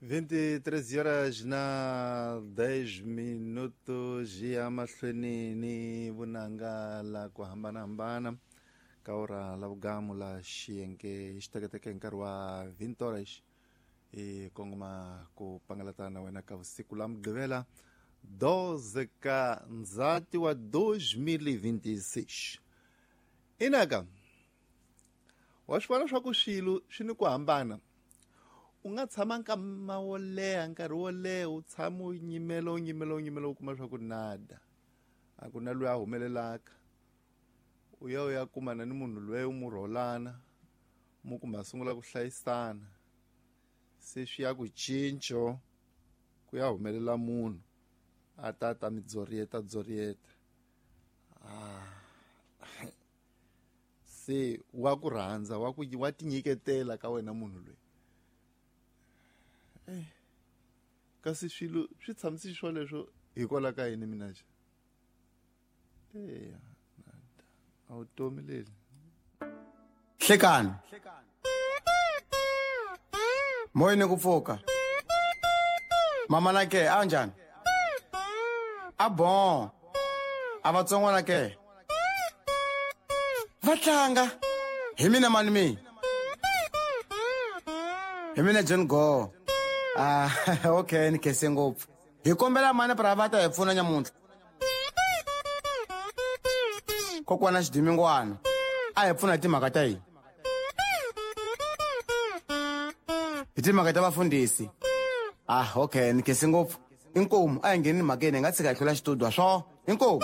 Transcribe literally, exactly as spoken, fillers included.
vinte e três horas na dez minutos ya mahlweni ni vunanga la ku hambanahambana ka ora la vugamu la xiyenge xiteketeke hi nkarhi wa vinte horas hi kongoma ku pangalata na wena ka vusiku la mugqivela doze ka ndzati wa dois mil e vinte e seis. Inaka wa swi vona swa ku swilo swi ni ku hambana. U nga tshama nkama wo leha, nkarhi wo leha, u tshama u nyimela, u nyimela, u nyimela, u kuma swa ku nada, a ku na loyi a humelelaka. U ya u ya kumana ni munhu loyi u mu rholana, mu kumbe a sungula ku hlayisana, se swi ya ku cinco, ku ya humelela munhu a ta ta mi dzorieta dzorieta. Ah, se wa ku rhandza, wa ku wa tinyiketela ka wena munhu loyi. Eh, kasi swilo swi tshamise swoleswo hikwalaho ka yini mina xa eya a vutomi leli? Hlekani moyeni ku pfuka mama na ke a njhani a bon a vatsongwana ke va tlanga hi mina mani mi hi mina John Go. Ah, okay, ni khense ngopfu. Hi kombela mani pra va ta hi pfuna nyamuntlha kokwana xidimingwana a hi pfuna hi timhaka ta hina, hi timhaka ta vafundhisi. Ah, okay, ni khense ngopfu. Inkomu, a hi ngheni mhakeni, hi nga tshika hi hlula xitudio swo. Inkomu.